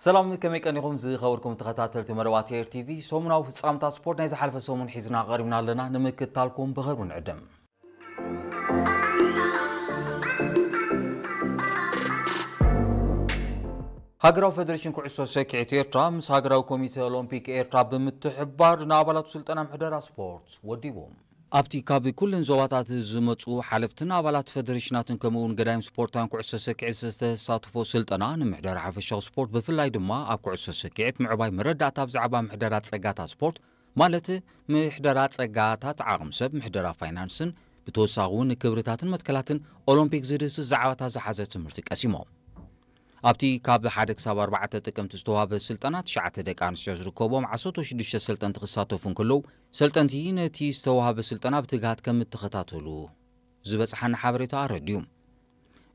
ሰላም፣ ከመይ ቀኒኹም ዝኸበርኩም ተኸታተልቲ መደባት ኤር ቲቪ? ሰሙናዊ ፍጻምታት ስፖርት ናይ ዝሓለፈ ሰሙን ሒዝና ቀሪብና ኣለና፣ ንምክትታልኩም ብኽብሪ ንዕድም። ሃገራዊ ፌደሬሽን ኩዕሶ ሰኪዔት ኤርትራ ምስ ሃገራዊ ኮሚቴ ኦሎምፒክ ኤርትራ ብምትሕብባር ንኣባላቱ ስልጠና ምሕደራ ስፖርት ወዲቡ። ኣብቲ ካብ ኩለን ዞባታት ዝመጹ ሓለፍትን ኣባላት ፌደሬሽናትን ከምኡ እውን ገዳይም ስፖርታውያን ኩዕሶ ሰኪዔት ዝተሳተፎ ስልጠና ንምሕደራ ሓፈሻዊ ስፖርት ብፍላይ ድማ ኣብ ኩዕሶ ሰኪዔት ምዕባይ መረዳእታ ብዛዕባ ምሕደራ ጸጋታት ስፖርት ማለት ምሕደራ ጸጋታት ዓቕሚ ሰብ፣ ምሕደራ ፋይናንስን ብተወሳኺ እውን ክብርታትን መትከላትን ኦሎምፒክ ዝድህስስ ዛዕባታት ዝሓዘ ትምህርቲ ቀሲሞም። ኣብቲ ካብ ሓደ ክሳብ ኣርባዕተ ጥቅምቲ ዝተዋህበ ስልጠና ትሽዓተ ደቂ ኣንስትዮ ዝርከቦም ዓሰርተ ሽዱሽተ ሰልጠንቲ ክሳተፉ እንከለዉ ሰልጠንቲ ነቲ ዝተዋህበ ስልጠና ብትግሃት ከም እተኸታተሉ ዝበጽሓና ሓበሬታ ኣረድዩ።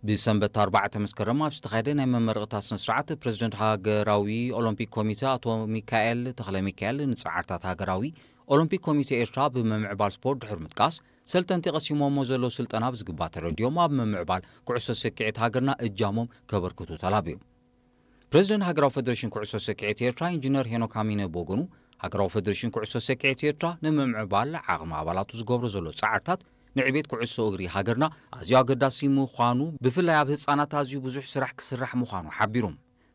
ብሰንበት ኣርባዕተ መስከረም ኣብ ዝተኻየደ ናይ መመረቕታ ስነ ስርዓት ፕሬዝደንት ሃገራዊ ኦሎምፒክ ኮሚቴ ኣቶ ሚካኤል ተኽለ ሚካኤል ንጻዕርታት ሃገራዊ ኦሎምፒክ ኮሚቴ ኤርትራ ብምምዕባል ስፖርት ድሕሪ ምጥቃስ ሰልጠንቲ ቀሲሞሞ ዘለዉ ስልጠና ብዝግባእ ተረዲኦም ኣብ ምምዕባል ኩዕሶ ሰኪዔት ሃገርና እጃሞም ከበርክቱ ተላብዩ። ፕሬዝደንት ሃገራዊ ፌደሬሽን ኩዕሶ ሰኪዔት ኤርትራ ኢንጂነር ሄኖክ ኣሚነ ብወገኑ ሃገራዊ ፌደሬሽን ኩዕሶ ሰኪዔት ኤርትራ ንምምዕባል ዓቕሚ ኣባላቱ ዝገብሮ ዘሎ ጻዕርታት ንዕቤት ኩዕሶ እግሪ ሃገርና ኣዝዩ ኣገዳሲ ምዃኑ ብፍላይ ኣብ ህጻናት ኣዝዩ ብዙሕ ስራሕ ክስራሕ ምዃኑ ሓቢሩ።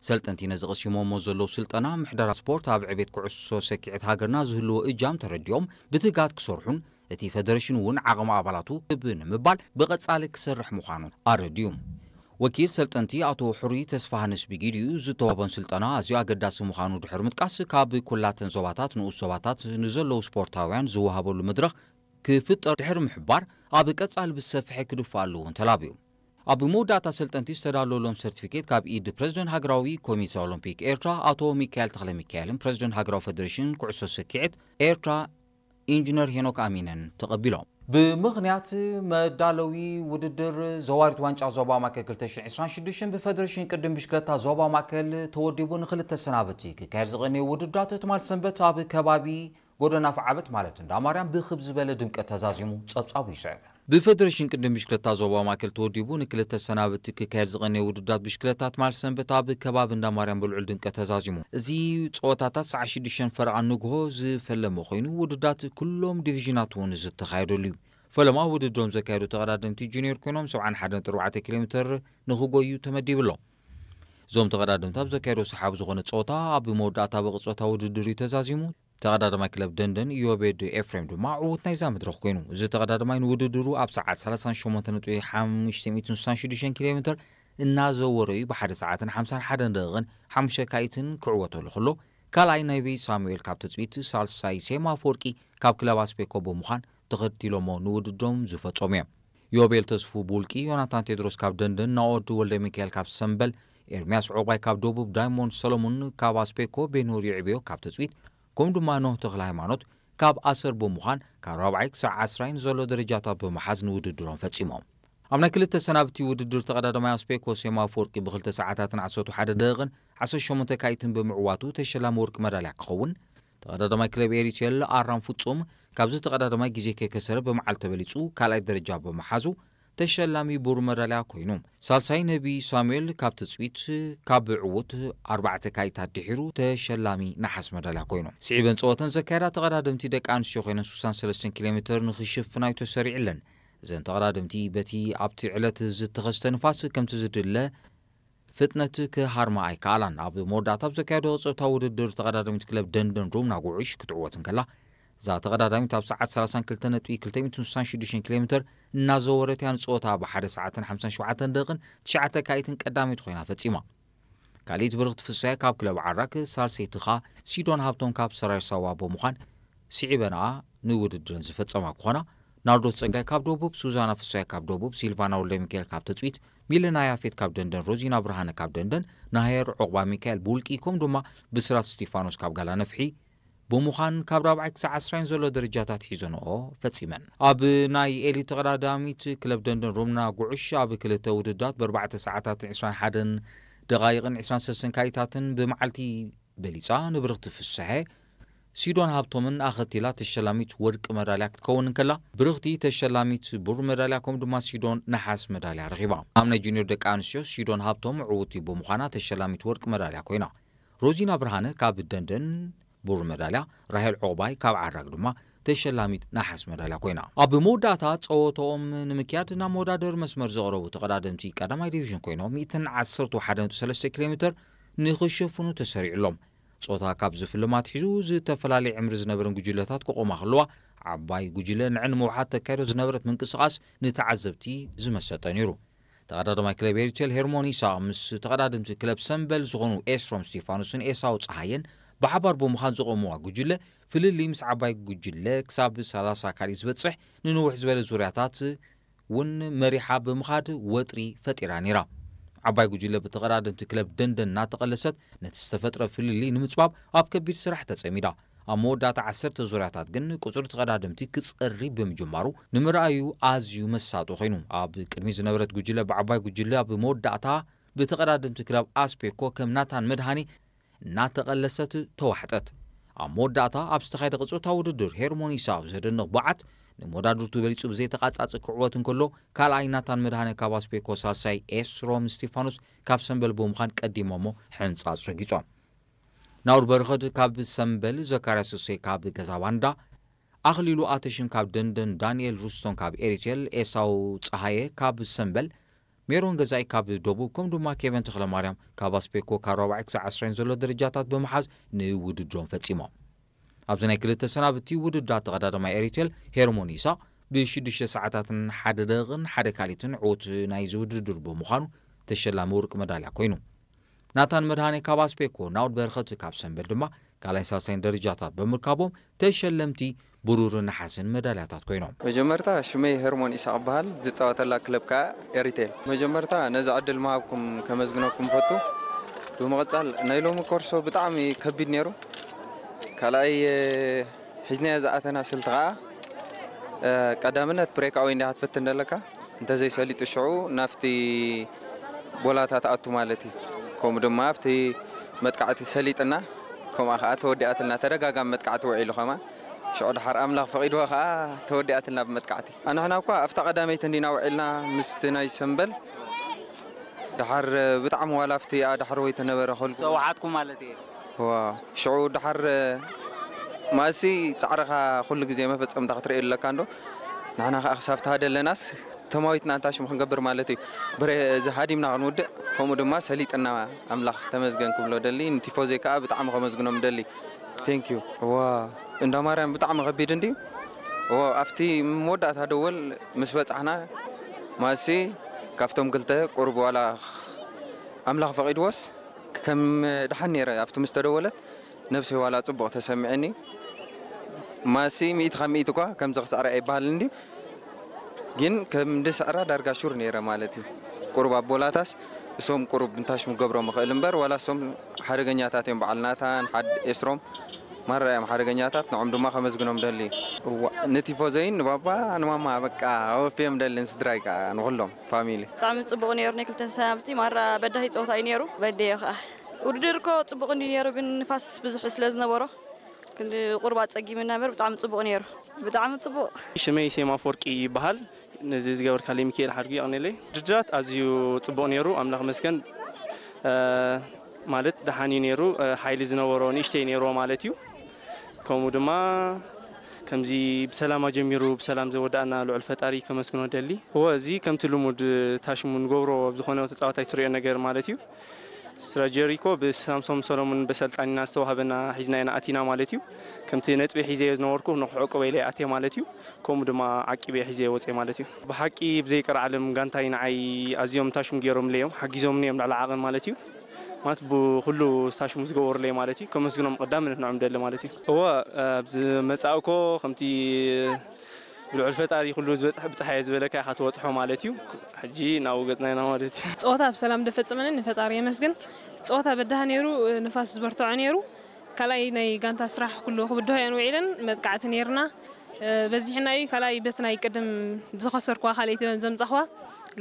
ሰልጠንቲ ነዚ ቀሲሞሞ ዘለዉ ስልጠና ምሕደራ ስፖርት ኣብ ዕቤት ኩዕሶ ሰኪዔት ሃገርና ዝህልዎ እጃም ተረዲኦም ብትግሃት ክሰርሑን እቲ ፌደሬሽን እውን ዓቕሚ ኣባላቱ ክብ ንምባል ብቐጻሊ ክሰርሕ ምዃኑ ኣረድዩ። ወኪል ሰልጠንቲ ኣቶ ሕሩይ ተስፋሃንስ ብጊዲኡ ዝተዋህቦን ስልጠና ኣዝዩ ኣገዳሲ ምዃኑ ድሕሪ ምጥቃስ ካብ ኩላተን ዞባታት ንኡስ ዞባታት ንዘለዉ ስፖርታውያን ዝወሃበሉ መድረኽ ክፍጠር ድሕሪ ምሕባር ኣብ ቀጻሊ ብዝሰፍሐ ክድፋ ኣለዎ እንተላብዩ። ኣብ መወዳእታ ሰልጠንቲ ዝተዳለወሎም ሰርቲፊኬት ካብ ኢድ ፕሬዝደንት ሃገራዊ ኮሚቴ ኦሎምፒክ ኤርትራ ኣቶ ሚካኤል ተኽለ ሚካኤልን ፕሬዝደንት ሃገራዊ ፌደሬሽን ኩዕሶ ሰኪዔት ኤርትራ ኢንጂነር ሄኖክ ኣሚነን ተቐቢሎም። ብምኽንያት መዳለዊ ውድድር ዘዋሪት ዋንጫ ዞባ ማእከል ክልተ ሽሕን ዕስራን ሽዱሽተን ብፈደሬሽን ቅድም ብሽክለታ ዞባ ማእከል ተወዲቡ ንክልተ ሰናብቲ ክካየድ ዝቐነየ ውድድራት ትማል ሰንበት ኣብ ከባቢ ጎደና ፍዓበት ማለት እንዳ ማርያም ብኽብ ዝበለ ድምቀት ተዛዚሙ ጸብጻቡ ይስዕብ። ብፈደሬሽን ቅድም ብሽክለታ ዞባ ማእከል ተወዲቡ ንክልተ ሰናብቲ ክካየድ ዝቐነየ ውድድራት ብሽክለታ ትማል ሰንበት ኣብ ከባቢ እንዳ ማርያም ብልዑል ድምቀት ተዛዚሙ። እዚ ጸወታታት ሰዓት ሽዱሽተ ፈረቓ ንግሆ ዝፈለመ ኮይኑ ውድድራት ኩሎም ዲቪዥናት እውን ዝተኻየደሉ እዩ። ፈለማ ውድድሮም ዘካየዱ ተቐዳደምቲ ጁኒየር ኮይኖም ሰብዓን ሓደን ነጥቢ ኣርባዕተ ኪሎ ሜትር ንኽጎዩ ተመዲቡ ኣሎ። እዞም ተቐዳደምቲ ኣብ ዘካየዶ ሰሓቢ ዝኾነ ጸወታ ኣብ መወዳእታ ብቕጽበታ ውድድር እዩ ተዛዚሙ። ተቐዳዳማይ ክለብ ደንደን ኢዮቤድ ኤፍሬም ድማ ዕዉት ናይዛ መድረኽ ኮይኑ። እዚ ተቐዳዳማይ ንውድድሩ ኣብ ሰዓት ሰላሳን ሸሞንተን ነጥቢ ሓሙሽተ ሚእትን ስሳን ሽዱሽተን ኪሎ ሜትር እናዘወረ እዩ ብሓደ ሰዓትን ሓምሳን ሓደን ደቂቕን ሓሙሽተ ካኢትን ክዕወተሉ ከሎ፣ ካልኣይ ነቢ ሳሙኤል ካብ ትጽቢት፣ ሳልሳይ ሴማ ኣፈወርቂ ካብ ክለብ ኣስፔኮ ብምዃን ተኸቲሎሞ ንውድድሮም ዝፈጸሙ እዮም። ዮቤል ተስፉ ብውልቂ፣ ዮናታን ቴድሮስ ካብ ደንደን፣ ናኦድ ወልደ ሚካኤል ካብ ሰምበል፣ ኤርምያስ ዑቕባይ ካብ ደቡብ፣ ዳይሞንድ ሰሎሙን ካብ ኣስፔኮ፣ ቤኑር ይዕብዮ ካብ ትጽቢት፣ ከምኡ ድማ ኖህ ተኽለ ሃይማኖት ካብ ኣሰር ብምዃን ካብ ራብዓይ ክሳዕ ዓስራይ ንዘሎ ደረጃታት ብምሓዝ ንውድድሮም ፈጺሞም። ኣብ ናይ ክልተ ሰናብቲ ውድድር ተቐዳዳማይ ኣስፔኮ ሴማ ኣፈወርቂ ብክልተ ሰዓታትን ዓሰርተ ሓደ ደቂቕን ዓሰርተ ሸሞንተ ካኢትን ብምዕዋቱ ተሸላሚ ወርቂ መዳልያ ክኸውን፣ ተቐዳዳማይ ክለብ ኤሪቴል ኣራም ፍጹም ካብዚ ተቐዳዳማይ ግዜ ከይከሰረ ብመዓልቲ ተበሊጹ ካልኣይ ደረጃ ብምሓዙ ተሸላሚ ብሩር መዳልያ ኮይኑ፣ ሳልሳይ ነቢ ሳሙኤል ካብ ትጽቢት ካብ ዕዉት ኣርባዕተ ካኢታት ድሒሩ ተሸላሚ ነሓስ መዳልያ ኮይኑ። ስዒበን ጸወተን ዘካየዳ ተቐዳደምቲ ደቂ ኣንስትዮ ኮይነን ስሳን ሰለስተን ኪሎ ሜትር ንኽሽፍና እዩ ተሰሪዕለን። እዘን ተቐዳደምቲ በቲ ኣብቲ ዕለት ዝተኸስተ ንፋስ ከምቲ ዝድለ ፍጥነት ክሃርማ ኣይከኣላን። ኣብ መወዳእታ ኣብ ዘካየዶ ጸወታ ውድድር ተቐዳዳሚት ክለብ ደንደን ሩምና ጉዑሽ ክትዕወት እንከላ፣ እዛ ተቐዳዳሚት ኣብ ሰዓት ሰላሳን ክልተ ነጥቢ ክልተ ሚእትን ስሳን ሽዱሽተን ኪሎ ሜትር እናዘወረት እያ ንጸወታ ብሓደ ሰዓትን ሓምሳን ሸውዓተን ደቂቕን ትሽዓተ ካኢትን ቀዳመይቲ ኮይና ፈጺማ። ካልኣይቲ ብርኽቲ ፍስሃየ ካብ ክለብ ዓራክ፣ ሳልሰይቲ ኸኣ ሲዶን ሃብቶም ካብ ሰራይ ሳዋ ብምዃን ስዒበንኣ ንውድድረን ዝፈጸማ ክኾና፣ ናርዶስ ጸጋይ ካብ ደቡብ፣ ሱዛና ፍስሃየ ካብ ደቡብ፣ ሲልቫና ወልደሚካኤል ካብ ትጽቢት፣ ሚለና ያፌት ካብ ደንደን፣ ሮዚና ብርሃነ ካብ ደንደን፣ ናሄር ዑቕባ ሚካኤል ብውልቂ፣ ከምኡ ድማ ብስራት ስቲፋኖስ ካብ ጋላ ነፍሒ ብምዃን ካብ ራብዓይ ክሳዕ ዓስራይን ዘሎ ደረጃታት ሒዘንኦ ፈጺመን። ኣብ ናይ ኤሊት ተቐዳዳሚት ክለብ ደንደን ሮምና ጉዑሽ ኣብ ክልተ ውድድራት ብኣርባዕተ ሰዓታትን ዕስራን ሓደን ደቓይቕን ዕስራን ሰለስተን ካኢታትን ብመዓልቲ በሊጻ ንብርኽቲ ፍስሐ፣ ሲዶን ሃብቶምን ኣኸቲላ ተሸላሚት ወርቂ መዳልያ ክትከውን እንከላ፣ ብርኽቲ ተሸላሚት ብሩር መዳልያ ከምኡ ድማ ሲዶን ነሓስ መዳልያ ረኺባ። ኣብ ናይ ጁኒዮር ደቂ ኣንስትዮ ሲዶን ሃብቶም ዕውቲ ብምዃና ተሸላሚት ወርቂ መዳልያ ኮይና። ሮዚና ብርሃነ ካብ ደንደን ብሩር መዳልያ፣ ራሄል ዑቕባይ ካብ ዓራግ ድማ ተሸላሚት ነሓስ መዳልያ ኮይና። ኣብ መወዳእታ ጸወታኦም ንምክያድ ናብ መወዳደሪ መስመር ዝቐረቡ ተቐዳደምቲ ቀዳማይ ዲቪዥን ኮይኖም ሚእትን ዓሰርተ ሓደ ነጥቢ ሰለስተ ኪሎ ሜተር ንኽሸፍኑ ተሰሪዑሎም። ጾታ ካብ ዝፍልም ኣትሒዙ ዝተፈላለየ ዕምሪ ዝነበረን ጉጅለታት ክቖማ ከለዋ፣ ዓባይ ጉጅለ ንዐ ንምውሓድ ተካይዶ ዝነበረት ምንቅስቓስ ንተዓዘብቲ ዝመሰጠ ነይሩ። ተቐዳዳማይ ክለብ ኤሪቴል ሄርሞን ኢሳቕ ምስ ተቐዳደምቲ ክለብ ሰምበል ዝኾኑ ኤስሮም ስቴፋኖስን ኤሳው ጸሃየን ብሓባር ብምዃን ዝቖምዋ ጉጅለ፣ ፍልልይ ምስ ዓባይ ጉጅለ ክሳብ ሰላሳ ካልኢት ዝበጽሕ ንንውሕ ዝበለ ዙርያታት እውን መሪሓ ብምኻድ ወጥሪ ፈጢራ ነይራ። ዓባይ ጉጅለ ብተቐዳደምቲ ክለብ ደንደን እናተቐለሰት ነቲ ዝተፈጥረ ፍልልይ ንምጽባብ ኣብ ከቢድ ስራሕ ተጸሚዳ። ኣብ መወዳእታ ዓሰርተ ዙርያታት ግን ቁጽሪ ተቐዳደምቲ ክጸሪ ብምጅማሩ ንምርኣዩ ኣዝዩ መሳጢ ኮይኑ። ኣብ ቅድሚ ዝነበረት ጉጅለ ብዓባይ ጉጅለ ኣብ መወዳእታ ብተቐዳደምቲ ክለብ ኣስፔኮ ከም ናታን መድሃኔ እናተቐለሰት ተዋሕጠት። ኣብ መወዳእታ ኣብ ዝተኻየደ ቅጽበታዊ ውድድር ሄርሞን ኢሳብ ዘደንቕ ብዓት ንመወዳድርቱ በሊጹ ብዘይተቓጻጸ ክዕወት እንከሎ፣ ካልኣይ ናታን መድሃኔ ካብ ኣስፔኮ፣ ሳልሳይ ኤስሮም ስቲፋኖስ ካብ ሰምበል ብምዃን ቀዲሞሞ ሕንጻጽ ረጊጾም። ናውር በረኸት ካብ ሰምበል፣ ዘካርያስ ሱሴ ካብ ገዛ ባንዳ፣ ኣኽሊሉ ኣተሽም ካብ ደንደን፣ ዳንኤል ሩስቶን ካብ ኤሪቴል፣ ኤሳው ጸሃየ ካብ ሰምበል፣ ሜሮን ገዛኢ ካብ ደቡብ፣ ከም ድማ ኬቨን ተኽለማርያም ካብ ኣስፔኮ ካብ ራብዓይ ክሳብ ዓስራይን ዘሎ ደረጃታት ብምሓዝ ንውድድሮም ፈጺሞም። ኣብዚ ናይ ክልተ ሰናብቲ ውድድራት ተቐዳዳማይ ኤሪቴል ሄርሞን ኢሳቕ ብሽዱሽተ ሰዓታትን ሓደ ደቂቕን ሓደ ካልኢትን ዕዉት ናይዚ ውድድር ብምዃኑ ተሸላሚ ወርቂ መዳልያ ኮይኑ። ናታን መድሃኔ ካብ ኣስፔኮ፣ ናውድ በረኸት ካብ ሰምበል ድማ ካልኣይን ሳልሳይን ደረጃታት ብምርካቦም ተሸለምቲ ብሩርን ነሓስን መዳልያታት ኮይኖም። መጀመርታ ሽመይ ሄርሞን ኢሳቕ እበሃል፣ ዝጻወተላ ክለብ ከኣ ኤሪቴል። መጀመርታ ነዚ ዕድል ምሃብኩም ከመስግነኩም እፈቱ። ብምቕጻል ናይ ሎሚ ኮርሶ ብጣዕሚ ከቢድ ነይሩ። ካልኣይ፣ እ፣ ሒዝናዮ ዝኣተና ስልቲ ከኣ፣ እ፣ ቀዳምነት ብሬክ ኣወይ እንዲኻ ትፍትን ዘለካ፣ እንተዘይሰሊጡ ሽዑ ናብቲ ቦላታ ትኣቱ ማለት እዩ። ከምኡ ድማ ኣብቲ መጥቃዕቲ ሰሊጥና፣ ከምኣ ከኣ ተወዲኣትልና፣ ተደጋጋሚ መጥቃዕቲ ውዒሉ ከማን። ሽዑ ድሓር ኣምላኽ ፈቒድዎ ከኣ ተወዲኣትልና ብመጥቃዕቲ። ኣንሕና እኳ ኣብታ ቀዳመይቲ እንዲና ውዒልና ምስቲ ናይ ሰምበል። ድሓር ብጣዕሚ ዋላ ኣብቲ ኣድሕር ወይ ተነበረ ከልኩ ዝተዋሓጥኩም ማለት እየ። ዋ፣ ሽዑ ድሓር ማእሲ ጻዕርኻ ኩሉ ግዜ መፈጸምታ ክትርእየሉ ኣለካ እንዶ። ንሕና ከኣ ክሳብ ተሃደለናስ ተማዊትና እንታ ሽሙ ክንገብር ማለት እዩ። ብረ-፣ እዚ ሃዲምና ክንውድእ፣ ከምኡ ድማ ሰሊጥና ኣምላኽ ተመስገን ክብሎ ደሊ፣ ንቲፎዘይ ከኣ ብጣዕሚ ከመስግኖም ደሊ። ቴንክ ዩ። ዋ፣ እንዳ ማርያም ብጣዕሚ ከቢድ እንድዩ። ዋ፣ ኣብቲ መወዳእታ ደወል ምስ በጻሕና፣ ማእሲ ካብቶም ክልተ ቁሩብ ዋላ ኣምላኽ ፈቒድዎስ፣ ከም ደሓን ነይረ ኣብቲ ምስ ተደወለት፣ ነብሰይ ዋላ ጽቡቕ ተሰሚዕኒ። ማእሲ ሚእቲ ካብ ሚእቲ እኳ ከምዚ ክስዕረ ኣይበሃልን ድዩ? ግን ከም ድስዕራ ዳርጋ ሹር ነይረ ማለት እዩ። ቁሩብ ኣቦላታስ እሶም ቁሩብ እንታሽ ምገብሮም እኽእል እምበር፣ ዋላ እሶም ሓደገኛታት እዮም። በዓል ናታን፣ ሓድ ኤስሮም ማራ እዮም ሓደገኛታት፣ ንዖም ድማ ከመስግኖም ደሊ። እዋ፣ ንቲፎዘይን ንባባ ንማማ በቃ ኣወፍዮም ደሊ፣ ንስድራይ ከኣ ንኹሎም ፋሚሊ። ብጣዕሚ ጽቡቕ ነይሩ ናይ ክልተ ሰናብቲ፣ ማራ በዳሂ ጸወታ እዩ ነይሩ። በደዮ ከኣ። ውድድር እኮ ጽቡቕ እንዲ ነይሩ፣ ግን ንፋስ ብዙሕ ስለ ዝነበሮ ክንዲ ቁሩብ ኣጸጊምና እምበር ብጣዕሚ ጽቡቕ ነይሩ። ብጣዕሚ ጽቡቕ። ሽመይ ሴም ኣፈወርቂ ይበሃል። ነዚ ዝገበርካለይ ሚካኤል ሓድጉ የቐንየለይ። ውድድራት ኣዝዩ ጽቡቕ ነይሩ፣ ኣምላኽ መስገን። እ፣ ማለት ደሓን እዩ ነይሩ፣ እ፣ ሓይሊ ዝነበሮ ንእሽተይ ነይርዎ ማለት እዩ። ከምኡ ድማ ከምዚ ብሰላም ኣጀሚሩ ብሰላም ዘወዳእና ልዑል ፈጣሪ ከመስግኖ ደሊ። እወ፣ እዚ ከምቲ ልሙድ ታሽሙ ንገብሮ ኣብ ዝኾነ ተጻዋታይ ትሪኦ ነገር ማለት እዩ። ስራ ጀሪኮ ብሳምሶም ሰሎሞን በሰልጣኒና ዝተዋህበና ሒዝና ኢና ኣቲና ማለት እዩ። ከምቲ ነጥቢ ሒዘ ዝነበርኩ ንክዕቅበ ኢለ ኣትየ ማለት እዩ። ከምኡ ድማ ዓቂበ ሒዘ ወፅየ ማለት እዩ። ብሓቂ ብዘይቀርዓለም ጋንታይ ንዓይ ኣዝዮም ታሽሙ ገይሮምለይ እዮም፣ ሓጊዞምኒ እዮም ልዕሊ ዓቐን ማለት እዩ። ማለት ብኩሉ ታሽሙ ዝገበሩለይ ማለት እዩ። ከመስግኖም ቀዳምነት ንዕኦም ደሊ ማለት እዩ። እወ፣ ኣብ ዝመጻእኮ ከምቲ ብልዑል ፈጣሪ ኩሉ ዝበጽሕ ብጽሓየ ዝበለካ ኢኻ ትበጽሖ ማለት እዩ። ሕጂ ናብኡ ገጽና ኢና ማለት እዩ። ጸወታ ብሰላም ደፈጸመኒ ንፈጣሪ የመስግን። ጸወታ በዳህ ነይሩ፣ ንፋስ ዝበርትዖ ነይሩ። ካልኣይ ናይ ጋንታ ስራሕ ኩሉ ክብድሆ እየን ውዒለን፣ መጥቃዕቲ ነይርና። በዚሕና እዩ ካልኣይ በቲ ናይ ቅድም ዝኸሰርኩዋ ካልኣይቲ ዘምጻኽዋ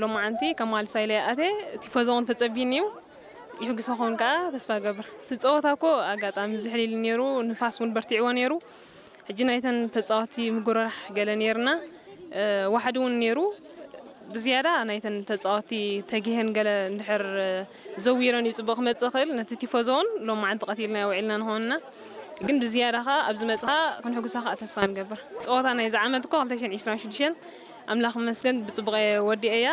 ሎማዓንቲ ከማልሳ ኢለ ኣተ ቲፎዞ እውን ተጸቢኒ እዩ። ይሕግሶ ክኸውን ከኣ ተስፋ እገብር። እቲ ጸወታ እኮ ኣጋጣሚ ዝሕሊል ነይሩ፣ ንፋስ እውን በርቲዕዎ ነይሩ። ሕጂ ናይተን ተጻወትቲ ምጉርራሕ ገለ ነይርና፣ እ፣ ዋሕዲ እውን ነይሩ። ብዝያዳ ናይተን ተጻወቲ ተጊሀን ገለ እንድሕር ዘዊረን እዩ ጽቡቕ ክመጽእ ክእል። ነቲ ቲፎዞ እውን ሎማዓንቲ ቀቲልና ውዒልና ንኾንና፣ ግን ብዝያዳ ኸኣ ኣብዚ መጽኻ ክንሕጉሳ ኸኣ ተስፋ ንገብር። ጸወታ ናይ ዝዓመት እኮ ክልተ ሽሕን ዕስራን ሽዱሽተን ኣምላኽ ይመስገን ብጽቡቕ ወዲኤያ።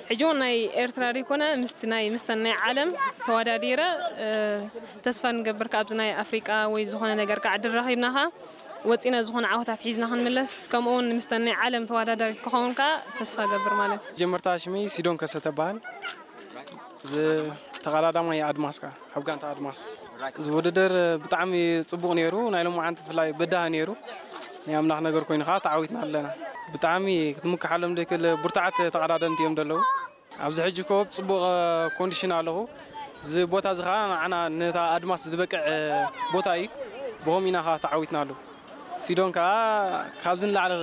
ሕጂ እውን ናይ ኤርትራ ዘይኮነ ምስቲ ናይ ምስተን ናይ ዓለም ተወዳዲረ ተስፋ ንገብር ካብዚ ናይ ኣፍሪቃ ወይ ዝኾነ ነገር ከዓ ድረኺብና ኸዓ ወፂና ዝኾነ ዓወታት ሒዝና ክንምለስ፣ ከምኡ እውን ምስተን ናይ ዓለም ተወዳዳሪት ክኸውን ከዓ ተስፋ ገብር ማለት እዩ። ጀመርታ ሽመይ ሲዶን ከሰተ በሃል። እዚ ተቐዳዳማይ ኣድማስ ከኣ ኣብ ጋንታ ኣድማስ። እዚ ውድድር ብጣዕሚ ጽቡቕ ነይሩ። ናይ ሎማዓንቲ ብፍላይ በዳህ ነይሩ። ናይ ኣምላኽ ነገር ኮይኑ ከኣ ተዓዊትና ኣለና። ብጣዕሚ ክትምክሓሎም ደይክእል ብርቱዓት ተቐዳደምቲ እዮም ዘለዉ። ኣብዚ ሕጂ ኮ ጽቡቕ ኮንዲሽን ኣለኹ። እዚ ቦታ እዚ ከኣ ንዓና ነታ ኣድማስ ዝበቅዕ ቦታ እዩ። ብኸምኡ ኢና ከኣ ተዓዊትናሉ። ሲዶን ከኣ ካብዚ ንላዕሊ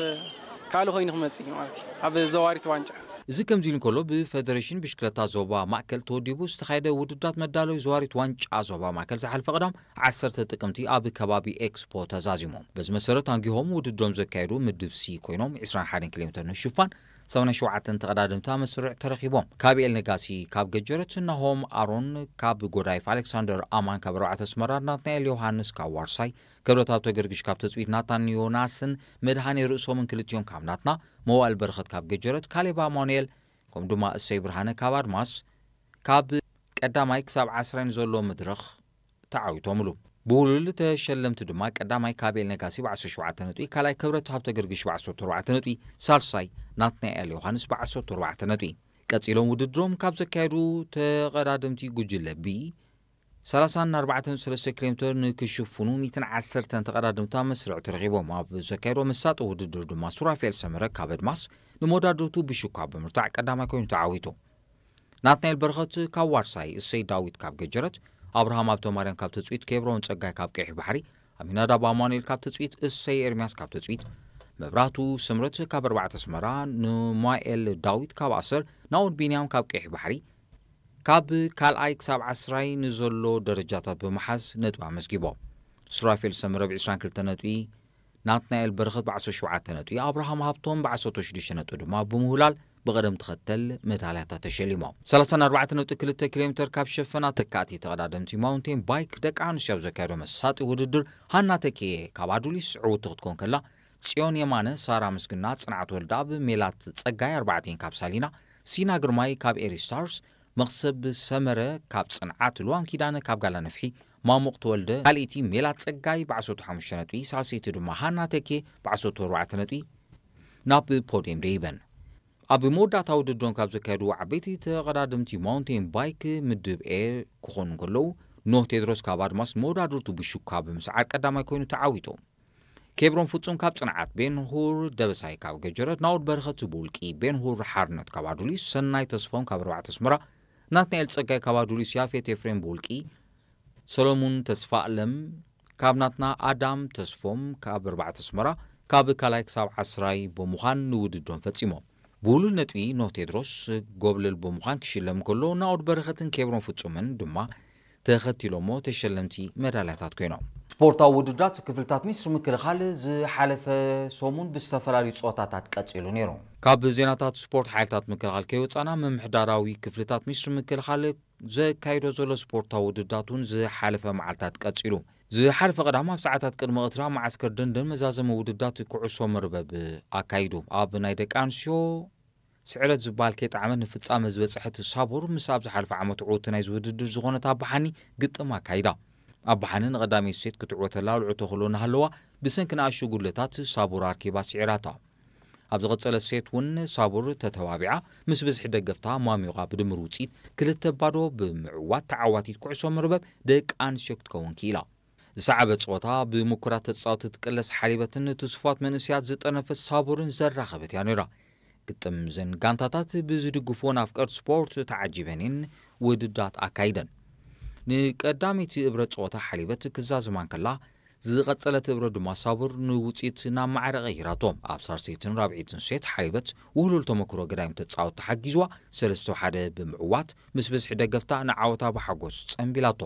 ካልእ ኮይኑ ክመጽእ እዩ ማለት እዩ ኣብ ዘዋሪት ዋንጫ። እዚ ከምዚ ኢሉ እንከሎ፣ ብፈደሬሽን ብሽክለታ ዞባ ማእከል ተወዲቡ ዝተኻየደ ውድድራት መዳለዊ ዘዋሪት ዋንጫ ዞባ ማእከል ዝሓለፈ ቀዳም ዓሰርተ ጥቅምቲ ኣብ ከባቢ ኤክስፖ ተዛዚሙ። በዚ መሰረት ኣንጊሆም ውድድሮም ዘካየዱ ምድብ ሲ ኮይኖም ዕስራን ሓደን ኪሎ ሜትር ንሽፋን ሰማንያን ሸውዓተን ተቐዳደምቲ ኣብ መስርዕ ተረኺቦም። ካብ ኤል ነጋሲ ካብ ገጀረት፣ ናሆም ኣሮን ካብ ጎዳይፍ፣ ኣሌክሳንደር ኣማን ካብ ኣርባዕተ ኣስመራ፣ ናትናኤል ዮሃንስ ካብ ዋርሳይ፣ ክብረት ሃብተገርግሽ ካብ ትጽቢት፣ ናታን ዮናስን መድሃኔ ርእሶምን ክልቲኦም ካብ ናትና፣ መዋእል በረኸት ካብ ገጀረት፣ ካሌብ ኣማኑኤል ከምኡ ድማ እሰይ ብርሃነ ካብ ኣድማስ ካብ ቀዳማይ ክሳብ ዓስራይ ንዘሎ መድረኽ ተዓዊቶምሉ። ብውሉል ተሸለምቲ ድማ ቀዳማይ ካብ ኤል ነጋሲ ብዓሰርተ ሸውዓተ ነጥቢ፣ ካልኣይ ክብረት ሃብተገርግሽ ብዓሰርተ ኣርባዕተ ነጥቢ፣ ሳልሳይ ናትናኤል ዮሃንስ ብዓሰርተ ኣርባዕተ ነጥቢ። ቀጺሎም ውድድሮም ካብ ዘካየዱ ተቐዳደምቲ ጉጅለ ቢ ሰላሳን ኣርባዕተን ሰለስተ ኪሎ ሜትር ንክሽፍኑ ሚእትን ዓሰርተን ተቐዳደምቲ ኣብ መስርዕ ተረኺቦም ኣብ ዘካየዶ መሳጢ ውድድር ድማ ሱራፌል ሰመረ ካብ ኣድማስ ንመወዳድርቱ ብሽኳ ብምርታዕ ቀዳማይ ኮይኑ ተዓዊቱ። ናትናኤል በረኸት ካብ ዋርሳይ፣ እሰይ ዳዊት ካብ ገጀረት፣ ኣብርሃም ሃብተማርያም ካብ ትጽቢት፣ ኬብሮን ጸጋይ ካብ ቀይሕ ባሕሪ፣ ኣሚናዳብ ኣማኑኤል ካብ ትጽቢት፣ እሰይ ኤርምያስ ካብ ትጽቢት፣ መብራህቱ ስምረት ካብ ኣርባዕተ ኣስመራ፣ ንማኤል ዳዊት ካብ ኣሰር፣ ናኦድ ቢንያም ካብ ቀይሕ ባሕሪ፣ ካብ ካልኣይ ክሳብ ዓስራይ ንዘሎ ደረጃታት ብምሓዝ ነጥቢ ኣመዝጊቦም። ሱራፌል ሰመረ ብ ዕስራን ክልተን ነጥቢ፣ ናትናኤል በረኸት ብ ዓሰርተ ሸውዓተ ነጥቢ፣ ኣብርሃም ሃብቶም ብ ዓሰርተ ሽዱሽተ ነጥቢ ድማ ብምውላል ብቐደም ተኸተል መዳልያታት ተሸሊሞም። ሰላሳን ኣርባዕተን ነጥቢ ክልተ ኪሎ ሜትር ካብ ሸፈና ተካእቲ ተቐዳደምቲ ማውንቴን ባይክ ደቂ ኣንስትዮ ኣብ ዘካየዶ መሳጢ ውድድር ሃና ተኪኤ ካብ ኣዱሊስ ዕውቲ ክትኮን ከላ፣ ጽዮን የማነ፣ ሳራ ምስግና፣ ጽንዓት ወልደኣብ፣ ሜላት ጸጋይ ኣርባዕቲን ካብ ሳሊና፣ ሲና ግርማይ ካብ ኤሪ ስታርስ፣ መኽሰብ ሰመረ ካብ ጽንዓት፣ ልዋም ኪዳነ ካብ ጋላ ነፍሒ፣ ማሙቕ ተወልደ ካልኣይቲ፣ ሜላት ጸጋይ ብ ዓሰርተ ሓሙሽተ ነጥቢ፣ ሳልሰይቲ ድማ ሃና ተኬ ብ ዓሰርተ ኣርባዕተ ነጥቢ ናብ ፖድየም ደይበን። ኣብ መወዳእታ ውድድሮም ካብ ዘካየዱ ዓበይቲ ተቐዳደምቲ ማውንቴን ባይክ ምድብ ኤ ክኾኑ እንከለዉ፣ ኖህ ቴድሮስ ካብ ኣድማስ መወዳድርቱ ብሹካ ብምስዓር ቀዳማይ ኮይኑ ተዓዊቱ። ኬብሮን ፍጹም ካብ ጽንዓት፣ ቤንሁር ደበሳይ ካብ ገጀረት፣ ናኦድ በረኸት ብውልቂ፣ ቤንሁር ሓርነት ካብ ኣዱሊስ፣ ሰናይ ተስፎም ካብ ኣርባዕተ ኣስመራ፣ ናትናኤል ጸጋይ ካብ ኣዱሊስ፣ ያፌት ኤፍሬም ብውልቂ፣ ሰሎሙን ተስፋ ኣለም ካብ ናትና፣ ኣዳም ተስፎም ካብ ኣርባዕተ ኣስመራ፣ ካብ ካልኣይ ክሳብ ዓስራይ ብምዃን ንውድድሮም ፈጺሞም። ብውሉል ነጥቢ ኖህ ቴድሮስ ጎብለል ብምዃን ክሽለም ከሎ፣ ናኦድ በረኸትን ኬብሮን ፍጹምን ድማ ተኸቲሎሞ ተሸለምቲ መዳልያታት ኮይኖም። ስፖርታዊ ውድድራት ክፍልታት ሚኒስትሪ ምክልኻል ዝሓለፈ ሰሙን ብዝተፈላለዩ ጸወታታት ቀጺሉ ነይሩ። ካብ ዜናታት ስፖርት ሓይልታት ምክልኻል ከይወጻና፣ ምምሕዳራዊ ክፍልታት ሚኒስትሪ ምክልኻል ዘካይዶ ዘሎ ስፖርታዊ ውድድራት እውን ዝሓለፈ መዓልታት ቀጺሉ። ዝሓለፈ ቀዳም ኣብ ሰዓታት ቅድሚ ቀትሪ ኣብ መዓስከር ደንደን መዛዘሚ ውድድራት ኩዕሶ መርበብ ኣካይዱ። ኣብ ናይ ደቂ ኣንስትዮ ስዕረት ዝበሃል ከይጠዓመት ንፍጻመ ዝበጽሐት ሳቡር፣ ምስ ኣብ ዝሓለፈ ዓመት ዕውቲ ናይዚ ውድድር ዝኾነት ኣባሓኒ ግጥም ኣካይዳ። ኣባሓኒ ንቐዳመይቲ ሴት ክትዕወተላ ልዕቶ ክሎ እናሃለዋ፣ ብሰንኪ ንኣሽቱ ጉድለታት ሳቡር ኣርኪባ ስዒራታ። ኣብ ዝቐጸለት ሴት እውን ሳቡር ተተባቢዓ፣ ምስ ብዝሒ ደገፍታ ማሚቓ ብድምር ውጽኢት ክልተ ባዶ ብምዕዋት ተዓዋቲት ኩዕሶ መርበብ ደቂ ኣንስትዮ ክትከውን ክኢላ። ዝሰዓበ ጸወታ ብምኩራት ተጻወትቲ ትቅለስ ሓሊበትን ትስፉዋት መንእሰያት ዝጠርነፈት ሳቡርን ዘራኸበት እያ ነይራ። ግጥም እዘን ጋንታታት ብዝድግፍወን ኣፍቀርቲ ስፖርት ተዓጂበን እየን ውድድራት ኣካይደን። ንቀዳመይቲ እብረ ጸወታ ሓሊበት ክዛዝማ እንከላ፣ ዝቐጸለት እብረ ድማ ሳቡር ንውጽኢት ናብ ማዕረ ቀይራቶ። ኣብ ሳልሰይትን ራብዐይትን ሴት ሓሊበት ውህሉል ተመክሮ ገዳይም ተጻወትቲ ሓጊዝዋ፣ ሰለስተ ሓደ ብምዕዋት ምስ ብዝሒ ደገፍታ ንዓወታ ብሓጎስ ጸንቢላቶ።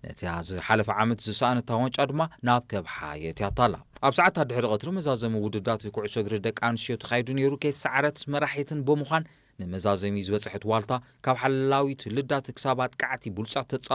ነቲ ዝሓለፈ ዓመት ዝሰኣነታ ዋንጫ ድማ ናብ ከብሓ የእትያታ ኣላ። ኣብ ሰዓታት ድሕሪ ቀትሪ መዛዘሚ ውድድራት ኩዕሶ እግሪ ደቂ ኣንስትዮ ተኻይዱ ነይሩ። ከይሰዓረት መራሒትን ብምዃን ንመዛዘሚ ዝበጽሐት ዋልታ፣ ካብ ሓላዊት ልዳት ክሳብ ኣጥቃዕቲ ብሉጻት ተጻ